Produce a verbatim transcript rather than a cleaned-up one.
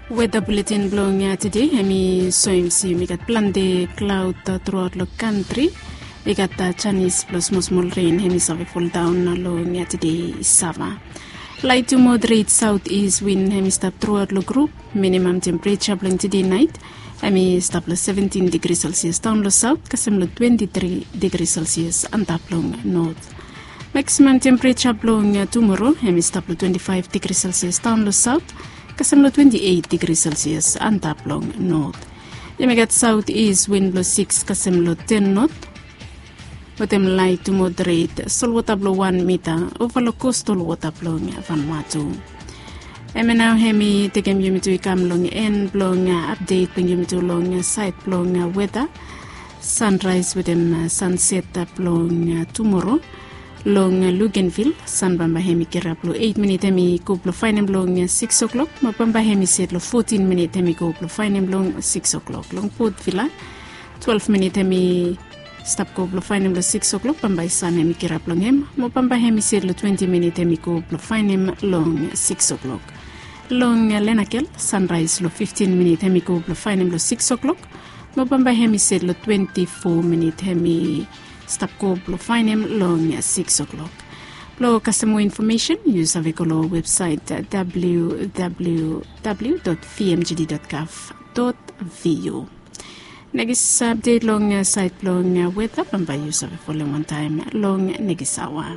Weta buletin blong tede hem i soem se yumi gat plante klaod truaot long kantri. I gat janis blong smolsmol ren hem i save foldaon long tede i sava. Lait tu moderet saot is win hem i stap truaot long grup. Minimam tempereja blong tede nait hem i stap long seventin digri selsias daon long saot kasem long twenti tri digri selsias antap long not. Maksimam tempereja blong tumoro hem i stap long twenti faef digri selsias daon long saot kasem long twenti eit digri selsias antap long not. Yumi gat saot is win blong siks kasem long ten not wetem lait tu moderet solwota blong wan mita ova long kostal wota blong Vanuatu. Hem ya nao hem i tekem yumi tu i kam long en blong apdet blong yumi tu long saed blong weta. Sanraes wetem sanset blong tumoro long Luganville, san bambae hem i kirap long eit minit hem i go blong faenem long siks o'klok mo bambae hem i set long fotin minit hem i go blong faenem long siks o'klok. Long Port Vila, twelef minit hem i stap go blong faenem long siks o'klok bambae san hem i kirap long hem mo bambae hem i set long twenti minit hem i go blong faenem long siks o'klok. Long Lenakel, sanraes long fiftin minit hem i go blong faenem long siks o'klok mo bambae hem i set long twenti fo minit hem i stap go blong faenem long siks o'klok. Blong kasem moa infomesen yu save go long websaet www vmgd gov vu. Nekis apdet long saed blong weta bambae yu save folem wantaem long nekis aoa.